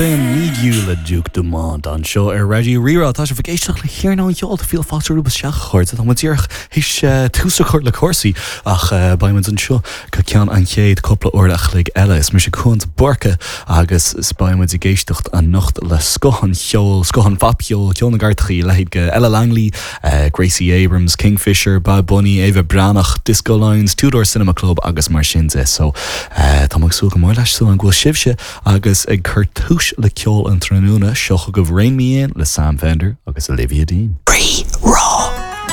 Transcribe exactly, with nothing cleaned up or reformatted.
Need You le Duke Dumont anseo ar Raidió Rí-Rá tá sibh ag éisteacht le hiarnán ceol fíl fáilte romhaibh isteach a chairde tá díreach théis tús a chur le cúrsaí ach beimid anseo go ceann an chéad cúpla uair a chloig eile is mise Cuan de Búrca agus is beimid ag éisteacht anocht le scoth an cheoil scoth an phopcheoil ceol na gcairteacha leithéid de Ella Langley, uh, Gracie Abrams, Kingfisher, Bad Bunny, Ava Breathnach, Disco Lines, Two Door Cinema Club agus mar sin de so uh, tá ag súil go mór leis an bhfuil sibhse agus ag cur tús le ceol an tráthnóna seo chugaibh Rein Me In le Sam Fender agus Olivia Dean. Rí